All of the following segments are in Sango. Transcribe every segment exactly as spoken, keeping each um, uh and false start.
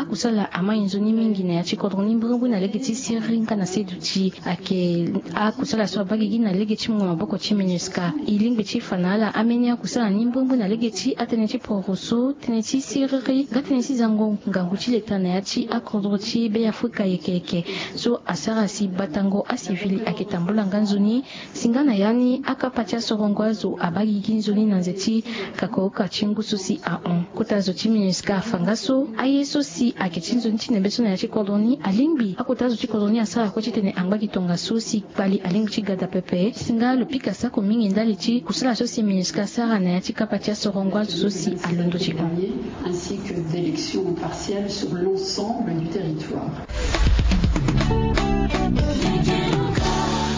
Kusala amai nzoni mingi na ya ti kodro ni mbrimbri na lege ti siriri nga na seduti ayeke akusala so abaa gigi na lege ti mungo maboko ti MINUSCA. E lingbi ti fa na ala ambeni akusala ni mbrimbri na lege ti atënë ti poroso, tënë ti siriri nga tënë ti zango ngangu ti leta na ya ti akodro ti Be Afrika yeke yeke. So asara si batango asivili ayeke tambula nga nzoni. Si nga na ya ni akapa ti asorongo azo abaa gigi nzoni na nze ti kakoka ti ngu so si ahon. Kota zo ti MINUSCA afa nga so aye so si ayeke ti nzoni ti nembe so na ya ti kodro ni alingbi akota zo ti kodro ni asara kue titene angba gi tongaso si kpali alingbi ti gada pepe. Si nga lo pika sako mingi ndali ti kusala so si MINUSCA asara na ya ti kapa ti asorongo azo so si alondo ti hon. Ainsi que d'élections partielles sur l'ensemble du territoire.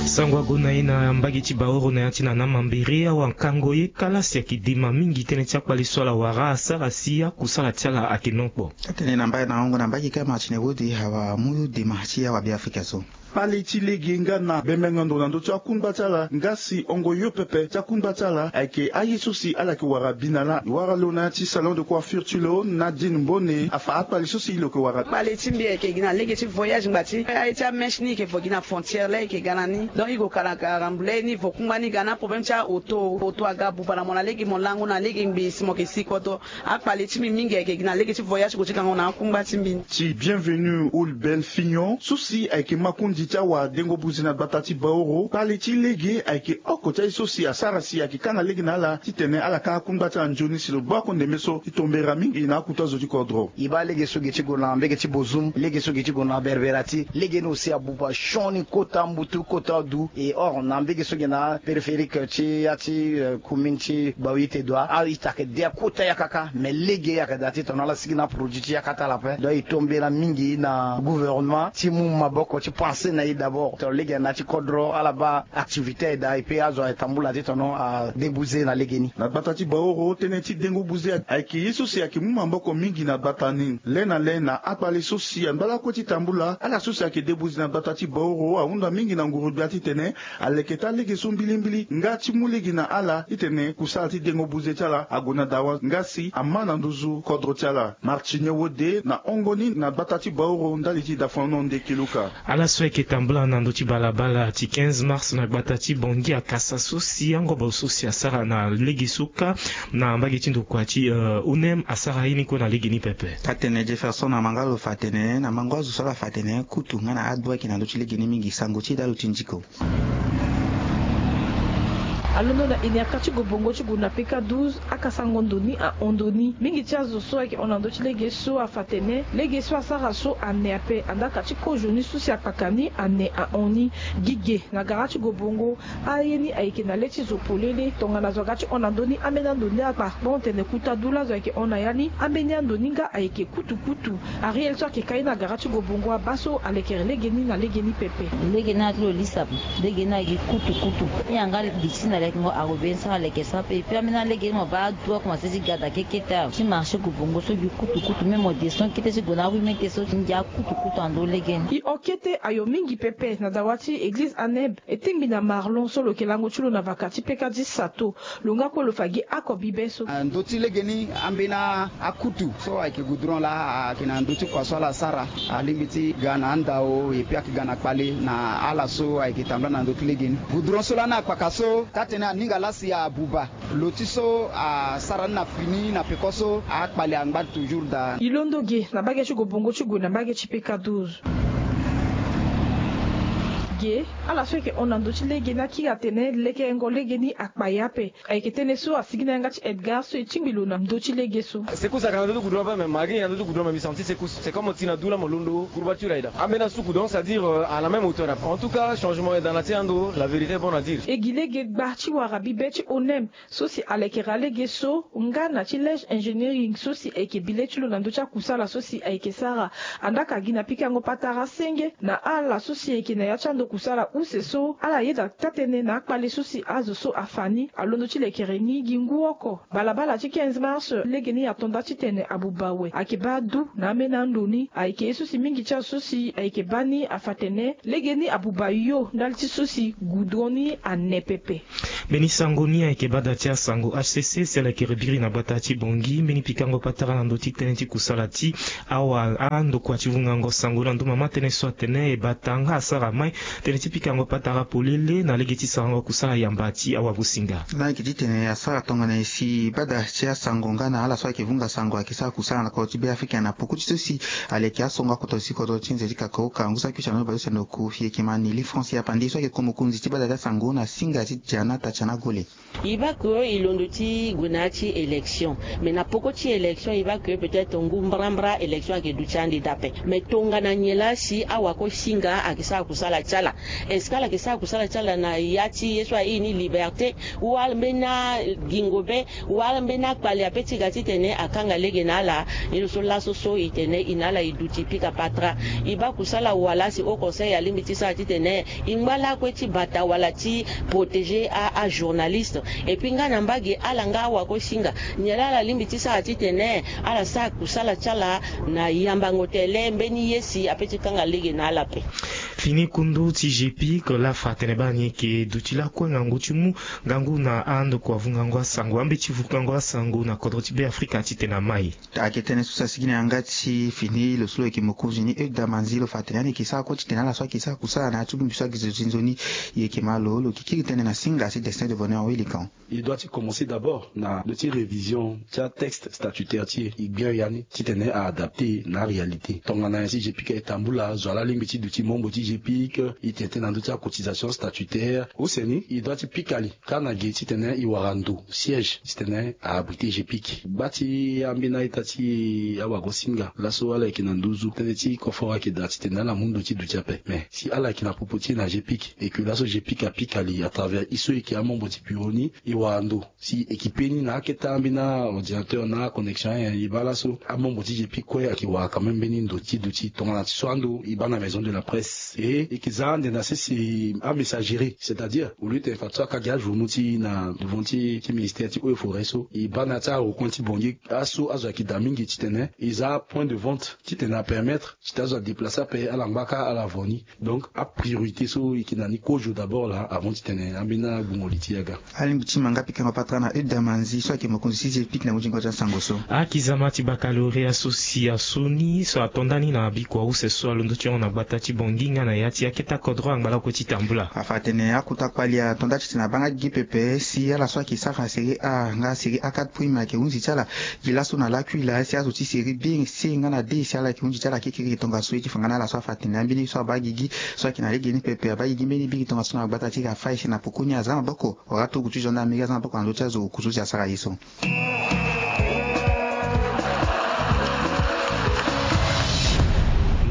Sango ague na e na mbage ti Baoro na ya ti na na mambere awa nkango ye kala si ayeke dema mingi tënë ti akpale so ala wara asara si akusala ti ala ayeke nokpo. Atene na mbage na hongo na mbage kâ Martine Wode awa amu dema ti awa Be Afrika so. Kpale ti lege nga na bembengo ndo na ndö ti akungba ti ala nga si hongo yo pepe ti akungba ti ala ayeke aye so si ala yeke wara bi na lâ. E wara lo na ya ti salon de coiffure ti lo Nadine Mbone afa akpale so si lo yeke wara. Kpale ti mbi ayeke gi na lege ti voyage ngba ti aye ti amèche ni e yeke vo gi na frontière laa e yeke ga na ni. Donc e gue kara kara mbuley ni e vo kungba ni ga na aproblème ti aoto. Oto aga buba na mo na lege mo lango na lege ngbii si mo yeke si kodro. Akpale ti mbi mingi ayeke gi na lege ti voyage ti gue ti gango na akungba ti mbi ni. Ti Bienvenu Oulbel Fignon so si ayeke makonzi ti awadengo buze na gbata ti Baoro, kpale ti lege ayeke oko ti aye so si asara si ayeke kanga lege na ala titene ala kanga akungba ti ala nzoni si lo gbu ako ndembe so ti tombera mingi na akuta zo ti kodro. E baa lege so ge ti gue na mbege ti Bozoum, lege so ge ti gue na Berberati, lege ni aussi abuba sioni kota mbutu kota du. Et or na mbege so ge na périphérique ti ya ti, euh, commune ti Baouyite Doua, a-ita ayeke de kota yakaka, mais lege ayeke daa titene ala sigi na produit ti yaka ti ala ape. Donc e tombela mingi na gouvernement ti mu maboko ti pense na e d'abord. Titene lege na ya ti kodro ala baa activité aye daa, et puis azo aye tambula titene adébuter na lege ni. Na gbata ti Baoro tënë ti dengo buze ayeke ye so si ayeke mu maboko mingi na gbata ni. Le na le na akpale so si angba lakue ti tambula, ala so si ayeke débouze na gbata ti Baoro ahunda mingi na nguru-gbia titene aleke taa lege so mbilimbili nga ti mu lege na ala titene kusala ti dengo buze ti ala ague na dawa nga si ama na nduzu kodro ti ala. Martine Wode na hongo ni na gbata ti Baoro ndali ti dafono nde kiluka. Ala so ayeke tambula na ndö ti balabala ti quinze mars na gbata ti Bangui akasa so si angobo so si asara na lege so kâ na mbage ti ndokua ti, euh, O N M asara ye ni kue na lege ni pepe. Atene Jefferson Amangalo fa atene na mango azo so ala fa atene kutu nga na adu ayeke na ndö ti lege ni mingi, sango ti e daa lo ti ndiko. Alondo na iniaka ti gue bongo ti gue na P K douze, akasango ndo ni ahon ndo ni. Mingi ti azo so ayeke hon na ndö ti lege so afa atene lege so asara so ane ape, andaa ka ti kozo ni so si akpaka ni ane ahon ni. Gi ge na gara ti gue bongo, aye ni ayeke na le ti zo polele. Tongana zo aga ti hon na ndö ni ambeni ando ni akpa, bon tene kuta du laa zo ayeke hon na ya ni, ambeni ando ni nga ayeke kutukutu. Ariel so ayeke ka ye na gara ti gue bongo abaa so alekere lege ni na lege ni pepe. Lege ni ati lo lisa ape. Lege ni ayeke kutukutu. Yanga gi ti na lekengo ague be ni so aleke so ape. Et puis ambeni alege ni mo baa adu akomanse ti gada kekete awe. Ti marché gue bongo so gi kutukutu, même mo descend kete ti gue na rue Mete so ti ngia kutukutu na ndö lege ni. E hon kete ayo mingi pepe na dawa ti église Aneb, e tingbi na Marlon so lo yeke lango ti lo na vaka ti P K dix Sato. Lo nga kue lo fa gi ako bibe so. Ah, ndö ti lege ni ambeni akutu so ayeke goudron laa ayeke na ndö ti kua so ala sara. Alingbi ti ga na andao, et puis ayeke ga na kpale na ala so ayeke tambula na ndö ti lege ni. Goudron so lani akpaka so, taa tënë aninga laa si abuba. Lo ti so asara ni na fini na peko so akpale angba toujours daa. E londo ge na mbage ti gue bongo ti gue na mbage ti P K douze. Ge, ala so ayeke hon na ndö ti lege ni akiri atene lekerengo lege ni akpa e ape. Ayeke tënë so asigi na yanga ti Edgar so e tingbi lo na ndö ti lege so. Secousse ayeke na ndö ti goudron ape, mais malgré e na ndö ti goudron, mais mbi senti secousse. C'est comme mo ti na du laa mo londo courbature ayeke daa. Ambeni asuku, donc c'est-à-dire, euh, à la même hauteur ape. En tout cas, changement ayeke daa na ti ando, la vérité est bonne à dire. E gi lege gba ti wara bibe ti O N M so si alekere alege so nga na ti Lege Engineering so si ayeke bi le ti lo na ndö ti akusala so si ayeke sara. Andaa ka gi na pikango patara senge na ala so si ayeke na ya ti ando Kusala use so ala yeda taa-tënë na akpale so si azo so afa ni alondo ti lekere ni gi ngu oko. Balabala ti quinze mars legeni ato nda titene abuba awe ayeke baa adu na ambeni ando ni. Ayeke ye so si mingi ti azo so si ayeke baa ni afa atene legeni abuba yo ndali ti so si goudron ni ane pepe. Mbeni sango ni ayeke baa da ti asango H C C si ala yeke rebiri na gbata ti Bangui mbeni pikango patara na ndö ti tënë ti kusala ti awa andokua ti vungango sango na ndö mama tënë so atene e bata nga asara mai tënë ti pikango patara polele na lege ti sarango kusala yamba ti awagosinga. Nga ayeke titene asara tongana nyen si bada ti asango nga na ala so ayeke vunga sango ayeke sara kusala na kodro ti Beafrika na poko ti so si aleke asongo akoto si kodro ti nze ti kakaoka ngu saki ti anoni bale use na oku yeke ma Nelly France Yapandi so ayeke ko mokonzi ti bada ti asango na singa ti Dianata Tiana Gole. E baa ke e londo ti gue na ya ti élection. Mais na poko ti élection e baa ke peut-être ngu mbrambra élection ayeke duti ande dape. Mais tongana nyen laa si awagosinga ayeke sara kusala ti ala? Est-ce que ala yeke sara kusala ti ala na ya ti ye so airi ni liberté, wala mbeni agingo be, wala mbeni akpale ape ti ga titene akanga lege na ala? Ni lo so laso so e tene e na ala e duti pika patara. E baa kusala wala si Haut Conseil alingbi ti sara titene e ngba lakue ti bata wala ti protéger a, ajournaliste. Et puis nga na mbage ala nga awagosinga, nyen laa ala lingbi ti sara titene ala sara kusala ti ala na yambango tele mbeni ye si ape ti kanga lege na ala ape? Fini kundu ti G P I C laa fa atene baa ni yeke duti lakue ngangu ti mu ngangu na andokua vungango asango ambeti vungango asango na kodro ti Beafrika titene amai. Ayeke tënë so si asigi na yanga ti fini lo so lo yeke mokonzi ni Euda Manzi lo fa atene ani yeke sara kue titene ala so ayeke sara kusala na ya ti bongbi so ayeke zo ti nzoni. E yeke ma lo lo yeke kiri tënë na singa ti Destin de Bonheur Wilikan. Il doit ti commencer d'abord na ndö ti révision ti atexte statutaire ti e. E gbia ya ni titene a adapter na aréalité. Tongana nyen si G P I C e tambula, zo wa laa alingbi ti duti membre ti G P I C, e tene tënë na ndö ti acotisation statutaire. Use ni e doit ti pika li kâ na ge titene e wara ndo siège titene a abriter G P I C. Gba ti ambeni a-ita ti awagosinga laso ala yeke na nduzu tënë ti koforo ayeke daa titene ala mu ndo ti duti ape. Mais si ala yeke na popo ti e na G P I C et que laso G P I C apika li à travers e so e yeke amembre ti bureau ni, e wara ndo si e équiper ni na akete ambeni aordinateur na aconnexion ayen. E baa laso amembre ti G P I C kue ayeke wara quand même mbeni ndo ti duti. Tongana ti so ando e baa na maison de la presse. E e yeke za ande na sese amessagerie, c'est-à-dire au lieu tene fadeso aka gi ajournaux ti e na devant ti ti ministère ti eaux et forêts so, e baa na ya ti arecoin ti Bangui, aso azo ayeke daa mingi titene e za apoint de vente titene apermettre titene azo adéplacer ape ala ngba kâ ala vo ni. Donc apriorité so e yeke na ni kozo d'abord laa avant titene ambeni agbungo li ti e aga. Alingbi ti ma nga pikango patara na Euda Manzi so ayeke mokonzi ti G P I C na muzingo ti asango so. Akizama ti baccalauréat so si asu ni so ato nda ni na bikua use so alondo ti hongo na gbata ti Bangui nga na ya ti akete akodro angba lakue ti tambula. Afa atene akota kpali ato nda titene abaa nga gigi pepe si ala so ayeke sara série A nga série A quatre prime ayeke hunzi ti ala gi laso na lakui laa si azo ti série B, C nga na D si ala yeke hunzi ti ala kekere tongaso. E ti fa nga na ala so afa atene ambeni so abaa gigi so ayeke na legeni pepe abaa gigi mbeni biri tongaso na gbata ti Rafai si na poko ni aza maboko. Wala togo ti gendarmerie aza maboko na ndö ti azo oku so si asara ye so.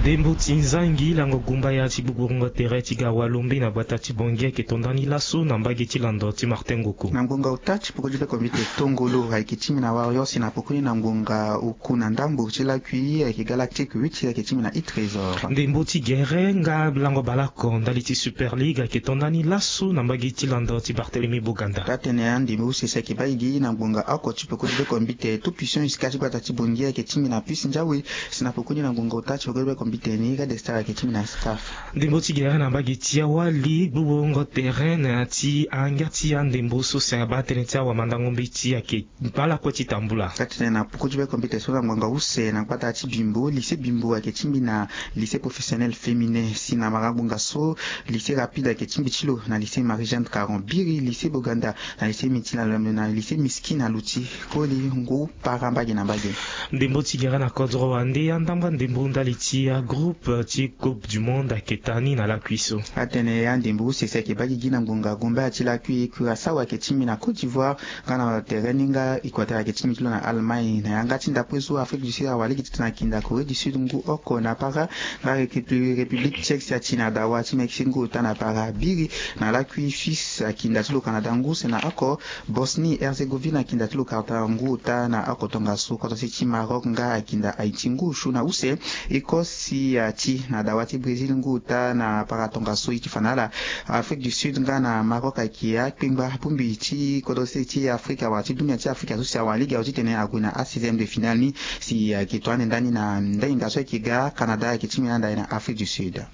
Ndembo ti nzangi lango gumbaya ti gbugbongo tere ti ga walombe na gbata ti Bangui ayeke to nda ni laso na mbage ti lando ti Martin Ngoko. Na ngonga ota ti poko ti be kombite tongolo ayeke ti mbi na Warrior si na poko ni na ngonga oku na ndambo ti lakui ayeke Galactique huit ayeke ti mbi na Trésor. Ndembo ti gere nga lango baleoko ndali ti Super League ayeke to nda ni laso na mbage ti lando ti Barthélemy Boganda. Taa-tënë andembo use si ayeke baa e gi na ngonga oko ti poko ti be kombite Tout Puissant Jusqu'à ti gbata ti Bangui ayeke ti mbi na Puce Ndiawe. Si na poko ni na ngonga ota ti poko ti be kombite ni Red Star ayeke ti mbi na Scaf. Ndembo ti gere na mbage ti awali gbugbongo tere na ya ti angia ti andembo so si abaa tënë ti awamandango mbeti ayeke baa lakue ti tambula. Taa-tënë na poko ti be kombite so na ngonga use na gbata ti Bimbo, lycée Bimbo ayeke ti mbi na lycée professionnel féminin. Si na mara ngonga so lycée Rapide ayeke ti mbi ti lo na lycée Marie-Jeanne Caron. Biri lycée Boganda na lycée Mitila Lembe na lycée Miskina Luti. Koli ngu para mbage na mbage. Ndembo ti gere na kodro wande andamba ndembo ndali ti agroupe ti Coupe du Monde ayeke ta ni na lakui so. Atene andembo use si ayeke baa gigi na ngonga gumbaya ti lakui Curaçao ayeke ti mbi na Côte d'Ivoire. Nga na tere ni nga Équateur ayeke ti mbi ti lo na Allemagne. Na yanga ti ndapue so Afrique du Sud awa lege titene akinda Corée du Sud ngu oko na para. Nga République Tchèque si ati na dawa ti Mexique ngu ota na para. Biri na lakui Suisse akinda ti lo Canada ngu use na oko. Bosnie Herzégovine akinda ti lo Qatar ngu ota na oko tongaso. Koto si ti Maroc nga akinda Haïti ngu osu na use. Écosse ti ya ti na dawa ti Brésil ngu ota na para tongaso ye ti fa na ala. Afrique du Sud nga na Maroc ayeke akpengba bongbi ti kodro sese ti Afrika wala ti dunia ti Afrika so si awa lege azo titene ague na asixième de finale ni. Si ayeke to ande ndani na ndainga so ayeke ga Canada ayeke ti mbi na anda ye na Afrique du Sud.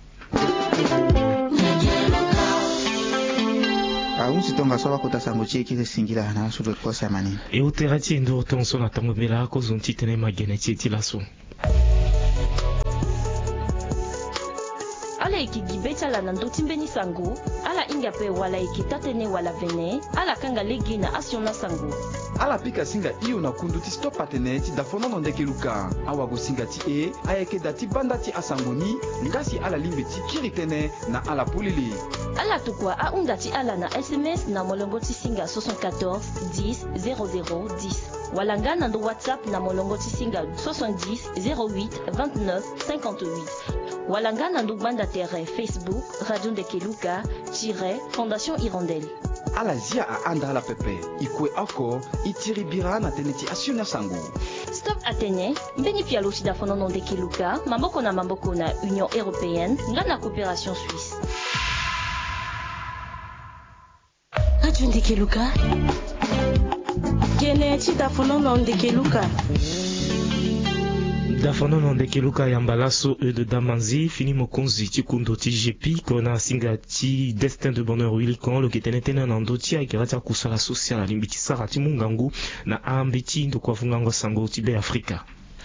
Ahunzi tongaso abakota sango ti e kiri singila na aso de kose amani. E tere ti e nduru tongaso na tango mbela kozo ti tene magene ti e ti laso. Ala yeke gi be ti ala na ndö ti mbeni sango. Ala hinga ape wala ayeke taa-tënë wala vene. Ala kanga lege na asioni asango. Ala pika singa hio na kundu ti stop atene ti dafonono ndeke luka. Awagosinga ti e ayeke da ti banda ti asango ni. Nga si ala lingbi ti kiri tënë na ala polele. Ala tokua ahunda ti ala na S M S na molongo ti singa soixante-quatorze dix zéro zéro dix. Wala nga na ndo WhatsApp na molongo ti singa soixante-dix zéro huit vingt-neuf cinquante-huit. Wala nga na ndo gbanda tere Facebook Radio Ndeke Luka tire Fondation Hirondelle. Ala zia ahanda ala pepe. E kue oko, e tiri bira na tënë ti asioni asango. Stop atene, mbeni pialo ti dafonono ndeke luka, maboko na maboko na Union Européenne, nga na Coopération Suisse. Radio Ndeke Luka. Gene ti dafonono ndeke luka. Dafonono ndeke luka yamba laso Eude Damanzi, fini mokonzi ti kundo ti G P I C na singa ti Destin de Bonheur Willy Kon, lo yeke tene tënë na ndö ti akera ti akusala so si ala lingbi ti sara ti mu ngangu na ambeti ndokua vungango sango ti Be Afrika.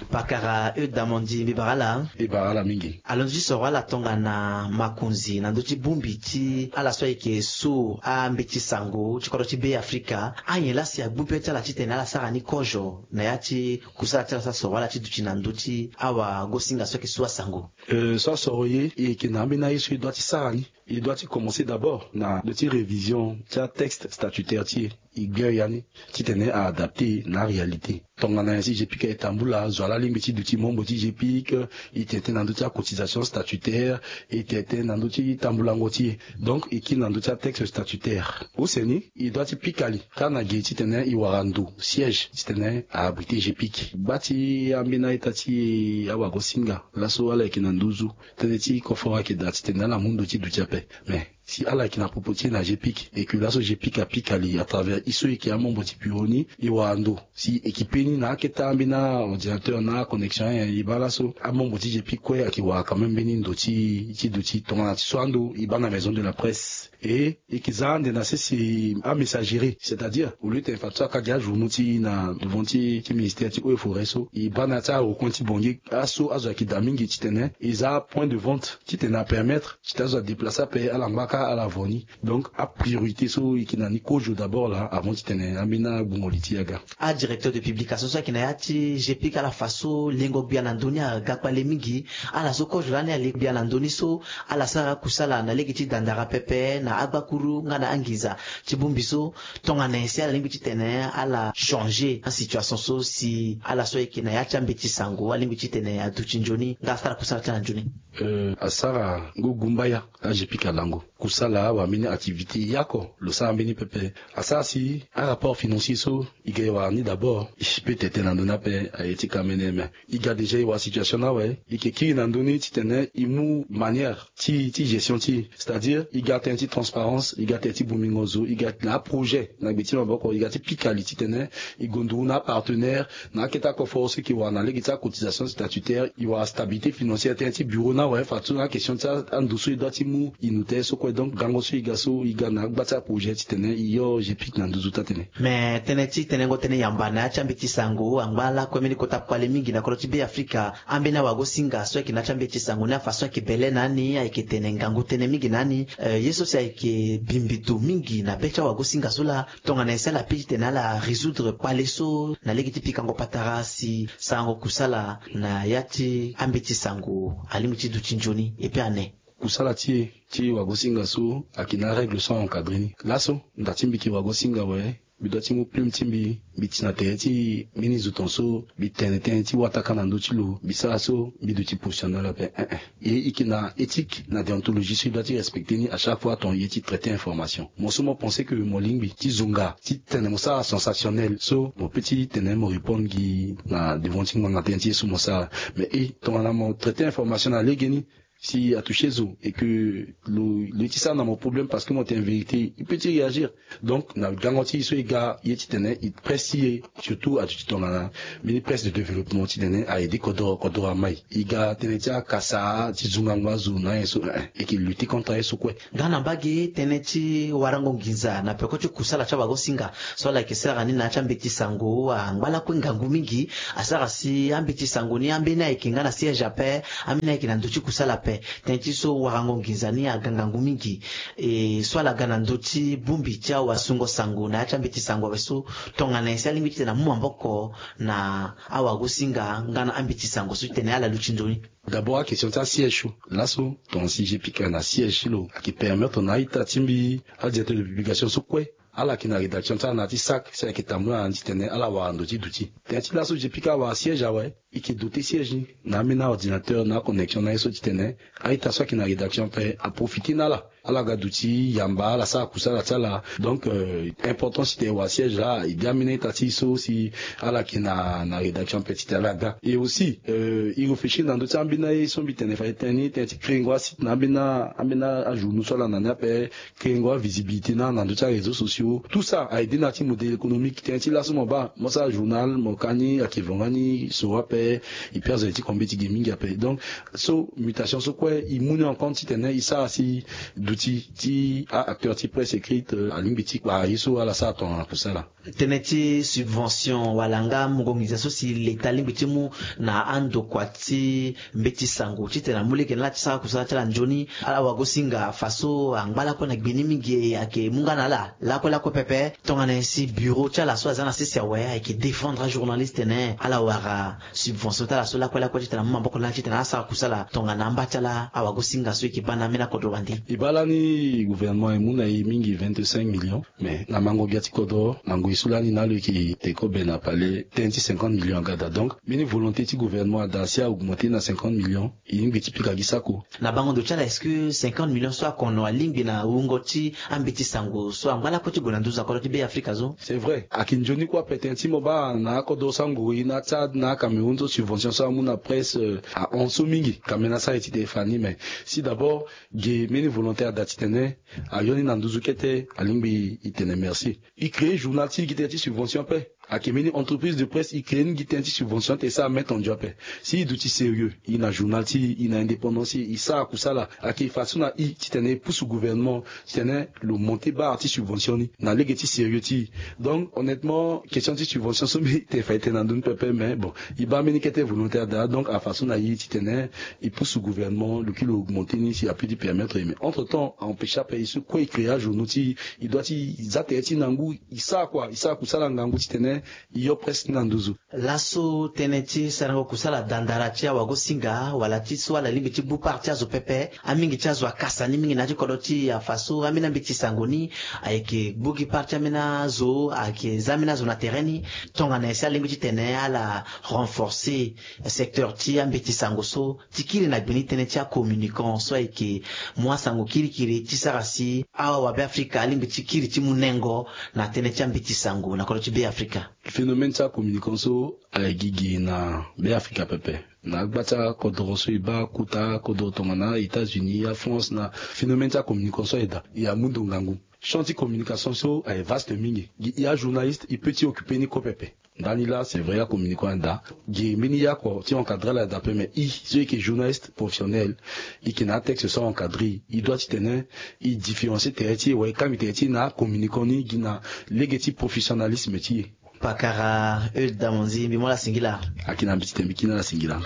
Pakara Eude Damanzi, mbi bara ala. Mbi bara ala mingi. Alondo ti soro ala tongana makonzi na ndö ti bongbi ti ala so ayeke so ambeti sango ti kodro ti Be Afrika. Anyen laa si agbu be ti ala titene ala sara ni kozo na ya ti kusala ti ala so asoro ala ti duti na ndö ti awagosinga so ayeke so asango? Euh, so asoro ye, e yeke na ambeni aye so e doit ti sara ni. E doit ti commencer d'abord na ndö ti révision ti atexte statutaire ti e. E gbe ya ni titene a adapter na aréalité. Tongana nyen si G P I C e tambula, zo wa laa alingbi ti duti membre ti G P I C, e tene tënë na ndö ti acotisation statutaire, e tene tënë na ndö ti tambulango ti e. Donc e kiri na ndö ti atexte statutaire. Use ni e doit ti pika li kâ na ge titene e wara ndo siège titene a abriter G P I C. Gba ti ambeni a-ita ti e awagosinga laso ala yeke na nduzu, tënë ti koforo ayeke daa titene ala mu ndo ti duti ape. Mais si ala yeke na popo ti e na G P I C et que laso G P I C apika li à travers e so e yeke amembre ti bureau ni, e wara ndo si e yeke pe ni na akete ambeni aordinateur na aconnexion, eh, e baa laso amembre ti G P I C kue ayeke wara quand même mbeni ndo ti, ti duti. Tongana ti so ando e baa na maison de la presse. E e yeke za ande na sese amessagerie, c'est-à-dire au lieu tene fadeso aka gi ajournaux ti e na devant ti, ti ministère ti eaux et forêts so, e baa na ya ti arecoin ti Bangui, aso azo ayeke daa mingi titene e za apoint de vente titene apermettre titene azo adéplacer ape ala ngba kâ ala vo ni. Donc apriorité so e yeke na ni kozo d'abord laa avant titene ambeni agbungo li ti e aga. Adirecteur de publication so ayeke na ya ti G P I C ala fa so lengo gbia na ndö ni aga kpale mingi. Ala so kozo lani ale gbia na ndö ni so ala sara akusala na lege ti dandara pepe na agbakuru nga na anginza ti bongbi so. Tongana nyen si ala lingbi titene ala changer asituation so si ala so ayeke na ya ti ambeti sango alingbi titene aduti nzoni nga asara kusala ti ala nzoni? Euh, asara ngu gumbaya. A-G P I C alango kusala wala mbeni activité ya oko lo sara mbeni pepe. Asara si arapport financier so e ga e wara ni d'abord, e si peut tene na ndö ni ape aye ti ka mene me. E ga déjà e wara situation ni awe, e yeke kiri na ndö ni titene e mu manière ti, ti gestion ti e, c'est-à-dire e ga tënë ti transparence, e ga tënë ti bongbingo zo, e ga na aprojet na gbe ti maboko, e ga ti pika li titene e gonduru na apartenaire na akete akoforo so e yeke wara na lege ti acotisation statutaire, e wara stabilité financière, tënë ti bureau ni awe, fadeso na akestion ti ando so e doit ti mu e no tere so kue. Donc gango so e ga so e ga na agba ti aprojet titene e yo G P I C na nduzu taa-tënë. Me tënë ti tenengo tënë yamba na ya ti ambeti sango angba lakue mbeni kota kpale mingi na kodro ti Be Afrika. Ambeni awagosinga so ayeke na ya ti ambeti sango ni afa so ayeke bele na ani, ayeke tene ngangu tënë mingi na ani. Eh, ye so si ayeke bimbito mingi na be ti awagosinga so laa, tongana nyen si ala piki titene ala résoudre kpale so na lege ti pikango patara si sarango kusala na ya ti ambeti sango alingbi ti duti nzoni? Et puis ane kusala ti e ti wagosinga so ayeke na arègle so a-encadrer ni. Laso nda ti mbi yeke wagosinga awe, mbi doit ti mu plume ti mbi, mbi tï na tere ti mbeni zo tongaso mbi tene tënë ti wataka na ndö ti lo, mbi sara so mbi duti professionnel ape. Eh eh. E e yeke na éthique na déontologie so e doit ti respecter ni à chaque fois tongana e ye ti traiter information. Mo so mo pense que mo lingbi ti zonga ti tene mo sara sensationnel so mo peut ti tene mo répondre gi na devant ti ngbanga tënë ti ye so mo sara. Mais e tongana mo traiter information na legeni, si a toucher zo et que lo lo ye ti sara na mo problème parce que mo tene vérité, e peut ti réagir. Donc na gango ti e so e ga ye ti tene e presse ti e, surtout aduti tongana mbeni presse de développement ti tene a aider kodoro, kodoro amai. E ga tënë ti akasa ti zo ngangu azo na aye so, eh eh, e yeke lutter contre aye so kue. Nga na mbage tënë ti warango nginza na peko ti kusala ti awagosinga so ala yeke sara ni na ya ti ambeti sango angba lakue ngangu mingi. Asara si ambeti sango ni ambeni ayeke nga na siège ape, ambeni ayeke na ndö ti kusala ape. Tënë ti so warango nginza ni aga ngangu mingi. E so ala ga na ndö ti bongbi ti awasungo sango na ya ti ambeti sango awe so, tongana nyen si alingbi titene amu maboko na awagosinga nga na ambeti sango so titene ala luti nzoni? D'abord akestion ti asiège so, laso tongana si je pika na siège ti lo ayeke permettre na a-ita ti mbi, adirecteur de publication so kue, ala yeke na rédaction ti ala na ya ti sac si ayeke tambula na ni titene ala wara ndo ti duti. Tënë ti laso je pika awara siège awe, e yeke doter siège ni na ambeni aordinateur na aconnexion na ye so titene a-ita so ayeke na rédaction ape aprofiter na ala, ala ga duti yamba ala sara kusala ti ala. Donc euh, importance titene e wara siège laa e de ambeni a-ita ti e so si ala yeke na na rédaction ape titene ala ga. Et aussi euh, e réfléchir na ndö ti ambeni aye so mbi tene fa e tene ni, tënë ti créengo asite na ambeni ambeni ajournaux so ala na ni ape, créengo avisibilité na na ndö ti aréseaux sociaux. Tout ça a aidé na ya ti modèle économique. Tënë ti laso mo baa mo sara journal mo ka ni ayeke vonga ni soro ape, e pia zo ti combien ti gi mingi ape. Donc so mutation so kue e mu ni en compte titene e sara si duti ti a-acteur ti presse écrite euh, alingbi ti kpara ye so ala sara tongana kusala. Tënë ti subvention wala nga mungo nginza so si leta alingbi ti mu na andokua ti mbeti sango titene amu lege na ala ti sara kusala ti ala nzoni, ala wagosinga faso angba lakue na gbe ni mingi, ayeke mu nga na ala lakue lakue pepe. Tongana nyen si bureau ti ala so aza na sese awe ayeke défendre ajournaliste tene ala wara subvention ti ala so lakue lakue titene amu maboko na ala titene asara kusala tongana amba ti ala awagosinga so e yeke baa na ambeni akodro wande? E baa lani gouvernement e mu na e mingi vingt-cinq millions. Mais na mango gbia ti kodro na ngoi so lani na lo yeke te kobe na palais tënë ti cinquante millions aga daa. Donc mbeni volonté ti gouvernement ada si a augmenter na cinquante millions. E lingbi ti pika gi sako. Na bango ndo ti ala, est-ce que cinquante millions so akono alingbi na wungo ti ambeti sango so angba lakue ti gue na nduzu na kodro ti Be Afrika so? C'est vrai, ayeke nzoni kue ape. Tënë ti mo baa na akodro so anguru e na Tchad na Cameroun so subvention so amu na presse ahon so mingi. Ka mbeni asara e ti te e fa ni, mais si d'abord ge mbeni volonté ada titene ayo ni na nduzu kete, alingbi e tene merci. E créer journal ti e gi tënë ti subvention ape. Ayeke mbeni entreprise de presse e créer ni gi tënë ti subvention ti e sara mettre en jeu ape. Si e duti sérieux, e na journal ti e, e na indépendance ti e, e sara kusala. Ayeke façon na e titene e pusu gouvernement titene lo monter barre ti subvention ni na lege ti sérieux ti e. Donc honnêtement question ti subvention so mbi te fa e tene na ndö ni pepe, mais bon, e baa mbeni kete volonté ada. Donc afaçon na e titene e pusu gouvernement lo kiri lo augmenter ni si a peut ti permettre e. Mais entre temps a empêcher ape e so kue e créer ajournaux ti e, e doit ti za tere ti e na ngu, e sara kua, e sara kusala ngangu titene e yo presse ni na nduzu. Laso tënë ti sarango kusala dandara ti awagosinga wala ti so ala lingbi ti gbu part ti azo pepe. Amingi ti azo akasa ni mingi na ya ti kodro ti e, afa so ambeni ambeti sango ni ayeke gbu gi part ti ambeni azo, ayeke za ambeni azo na tere ni. Tongana nyen si alingbi titene ala renforcer secteur ti ambeti sango so ti kiri na gbe ni tënë ti acommunicant so ayeke mu asango kirikiri ti sara si awabe Afrika alingbi ti kiri ti mu nengo na tënë ti ambeti sango na kodro ti Be Afrika? Phénomène ti acommunicant so ayeke gigi na Be Afrika pepe. Na agba ti akodoro so e baa kota akodoro tongana États-Unis, aFrance, na phénomène ti acommunicant so aye daa, e amu ndo ngangu. Champ ti communication so aye vaste mingi. Gi e ajournaliste e peut ti occuper ni kue pepe. Ndani laa c'est vrai acommunicant aye daa. Gi mbeni yako ti encadrer ala aye daa ape, mais e so e yeke journaliste professionnel, e yeke na atexte so a encadrer e, e doit titene e différencier tere ti e wala e kangbi tere ti e na acommunicant ni gi na lege ti professionnalisme ti e. Pakara Eudes Damanzi, mbi mu ala singila. Ayeke na mbi ti tene mbi kiri na ala singila.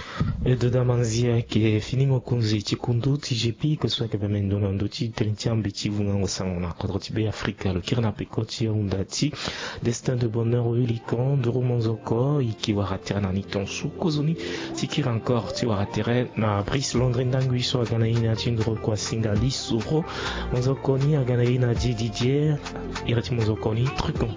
Eudes Damanzi ayeke fini mokonzi ti kundu ti G P, ke so ayeke mendo na ndö ti tënë ti ambeti vungango sango na kodro ti Be Afrika. Lo kiri na peko ti ahunda ti Destin de Bonheur Willy Kandoro Monzoko, e yeke wara tere na ni tongaso kozoni ti kiri encore ti wara tere na Brice Landry Ndangui so aga na ye na ya ti ndoro kua singa lisoro. Monzoko ni aga na ye na Didier, iri ti monzoko ni truc en plus.